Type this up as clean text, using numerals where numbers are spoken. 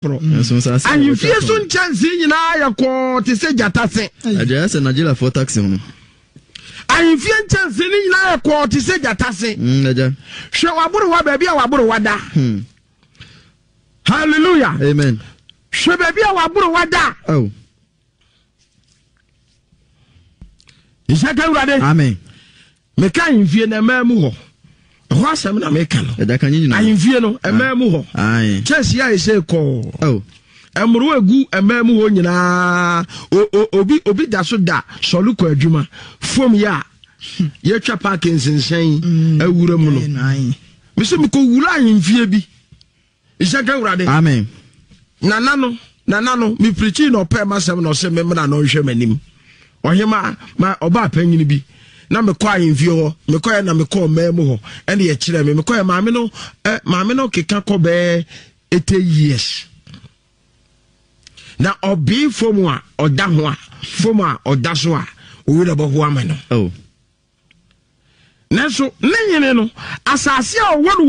Foforɔ. Ahemfie so nkyɛnsee nyinaa yɛ kɔɔ te sɛ gyata se. Agya sɛ Nigeriafoɔ taxi ho. Ahemfie nkyɛnsee no nyinaa yɛ kɔɔ te sɛ gyata se. Agya. Hwɛ w'aborowa baabi a w'aborowa da. Hallelujah. Amen. Hwɛ baabi a w'aborowa da. Oh. Nhyɛ ka Awurade. Amen. Meka ahemfie no ɛmaa mu hɔ. Ɛhɔ asɛm na meka no. Ahemfie no ɛmaa mu hɔ. Kyɛnse a ɛsɛ kɔɔ. Oh. Mmoro egu ɛmaa mu hɔ nyinaa. Obi obi da so da sɔre kɔ adwuma. Fam yɛ a yɛtwa paaki nsensɛn awura mu no. Mesɛ mekɔ wura ahemfie bi. Nhyɛ nka Awurade. Amen. Nana no, nana no, me pirikyi na ɔpɛɛ m'asɛm na ɔsɛ me mmra na ɔnhwɛ m'anim. Ɔhema ma ɔbaa panyin bi na mekɔ ahemfie hɔ, mekɔɛ na mekɔɔ mmaa mu hɔ, ɛna yɛkyerɛ me, mekɔɛ maame no, eh, maame no keka kɔ bɛɛ 80 years. Na ɔbee fam a ɔda ho a, fam a ɔda so a, owi na ɔbɛho ama no. Oh. Nanso ne hene no, asase a ɔwɔ no wɔ